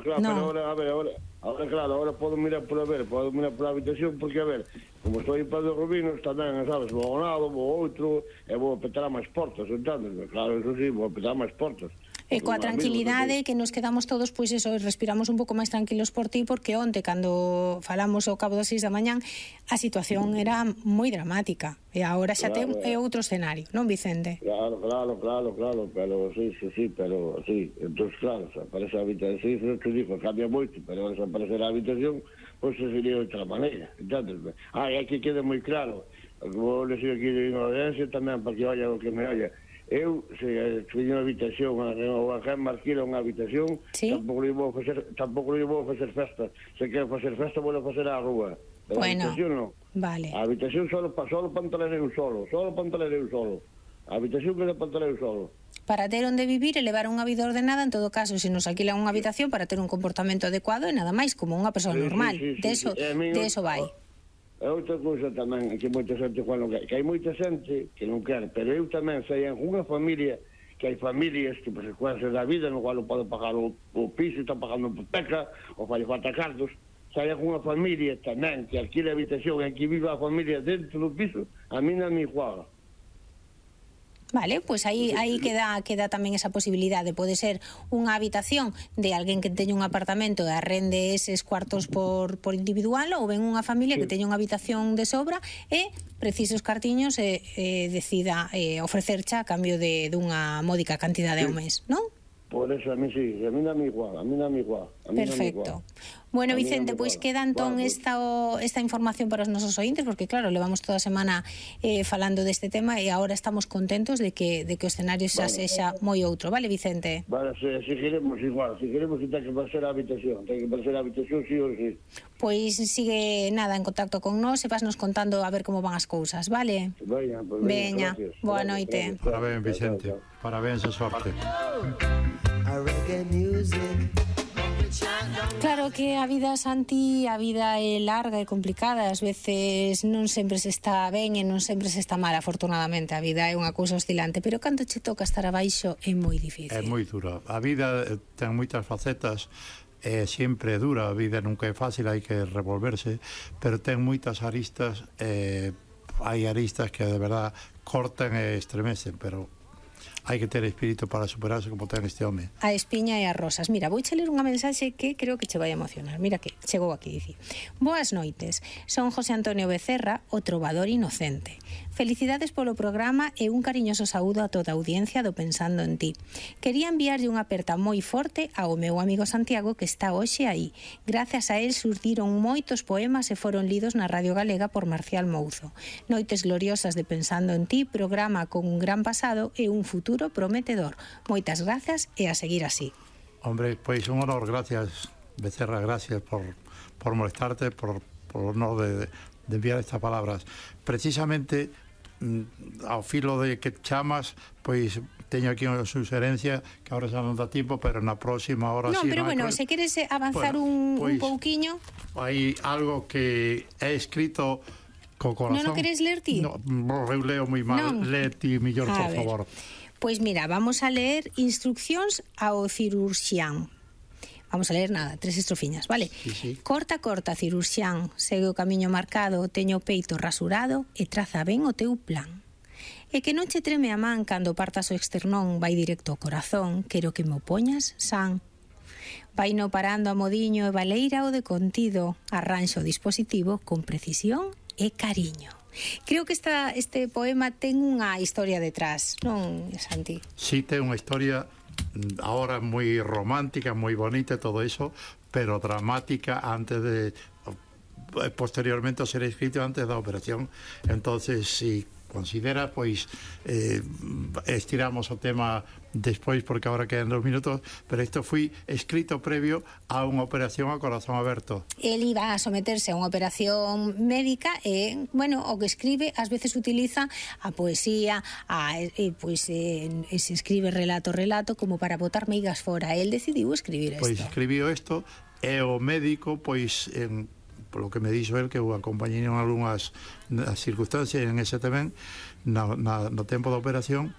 claro, pero ahora podo mirar por a habitación, porque, a ver, como estou aí para os Rubinos, tamén, sabes, vou a un lado, vou a outro, e vou a petar a máis portas, entendes? Claro, eso sí, vou a petar a máis portas. E coa tranquilidade que nos quedamos todos, pois eso, respiramos un pouco máis tranquilos por ti, porque onte, cando falamos ao cabo das 6 da mañán, a situación era moi dramática, e agora xa é outro escenario, non, Vicente? Claro, pero sí, entón, claro, se aparece a habitación, sí, eso te digo, cambia moito, pero se aparece a habitación, pois sería outra maneira, entendes? E aquí queda moi claro, vou decir aquí de audiencia tamén, para que olha o que me olha. Eu, se teño unha habitación ou a Gemma alquila unha habitación, tampouco lhe vou facer festa. Se quero facer festa, vou facer á rúa. Pero a habitación non. Vale. A habitación solo pantalereu solo. A habitación queda pantalereu solo. Para ter onde vivir e levar unha vida ordenada, en todo caso, se nos alquilan unha habitación para ter un comportamento adecuado e nada máis, como unha persoa normal. De eso vai. É outra cousa tamén, que moita xente que hai moita xente que non quer, pero eu tamén sei en unha familia, que hai familias que por secuencias da vida no cual non pode pagar o piso, está pagando hipoteca ou fai falta cartos, sei en unha familia tamén que alquila a habitación en que vive a familia dentro do piso, a mí non me iguala. Vale, pois aí queda tamén esa posibilidade. Pode ser unha habitación de alguén que teña un apartamento e arrende eses cuartos por individual, ou ben unha familia que teña unha habitación de sobra e precisos cartiños e decida ofrecercha a cambio dunha módica cantidade ao mes, non? Por eso a mí sí, a mí non me igual. Perfecto. Bueno, Vicente, pois queda entón esta información para os nosos ointes, porque claro, levamos toda a semana falando deste tema e agora estamos contentos de que o escenario xa sexa moi outro, vale, Vicente? Vale, se queremos igual, se queremos que ten que ser a habitación, sí ou sí. Pois sigue en contacto con nós e vasnos contando a ver como van as cousas, vale? Veña, boa noite. Parabéns, Vicente, parabéns e sorte. Claro que a vida, Santi, a vida é larga e complicada, ás veces non sempre se está ben e non sempre se está mal, afortunadamente, a vida é unha cousa oscilante, pero cando che toca estar abaixo é moi difícil. É moi dura, a vida ten moitas facetas, é sempre dura, a vida nunca é fácil, hai que revolverse, pero ten moitas aristas, hai aristas que de verdad cortan e estremecen, pero hai que ter espírito para superarse como ten este home. A espiña e as rosas. Mira, vou ler unha mensaxe que creo que che vai emocionar. Mira que chegou aquí, dice: boas noites, son José Antonio Becerra, o trovador inocente. Felicidades polo programa e un cariñoso saúdo a toda a audiencia do Pensando en Ti. Quería enviarlle unha aperta moi forte ao meu amigo Santiago, que está hoxe aí. Gracias a él surdiron moitos poemas e foron lidos na Radio Galega por Marcial Mouzo. Noites gloriosas de Pensando en Ti, programa con un gran pasado e un futuro prometedor. Moitas grazas e a seguir así. Hombre, pois un honor, gracias, Becerra, gracias por molestarte, por o honor de enviar estas palabras. Precisamente ao filo de que chamas, pois teño aquí unha suxerencia que ahora xa non dá tempo, pero na próxima hora non, sí. Pero bueno, se queres avanzar un pouquiño, hai algo que é escrito co corazón. Non o queres ler ti? No, eu leo moi mal, lee ti millor, por favor. Pois mira, vamos a ler instruccións ao cirurxián. Vamos a ler 3 estrofiñas, vale? Sí. Corta, cirurxián, segue o camiño marcado, teño o peito rasurado e traza ben o teu plan. E que non che treme a man cando partas o externón, vai directo ao corazón, quero que me o poñas san. Vai no parando a modiño e baleira o de contido, arranxo o dispositivo con precisión e cariño. Creo que este poema ten unha historia detrás, non, Santi? Sí, ten unha historia ahora moi romántica, moi bonita e todo eso, pero dramática posteriormente a ser escrito antes da operación. Entonces, si considera, pois estiramos o tema despois, porque agora quedan 2 minutos, pero isto foi escrito previo a unha operación a corazón aberto. El iba a someterse a unha operación médica e, bueno, o que escribe ás veces utiliza a poesía, se escribe relato como para botar meigas fora. El decidiu escribir isto. Pois escribiu isto e o médico, pois polo que me dixo el, que o acompañei en algunhas circunstancias en ese tamén no tempo da operación,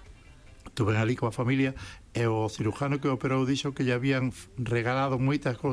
estuve ali coa familia e o cirujano que operou dixo que lle habían regalado moitas cousas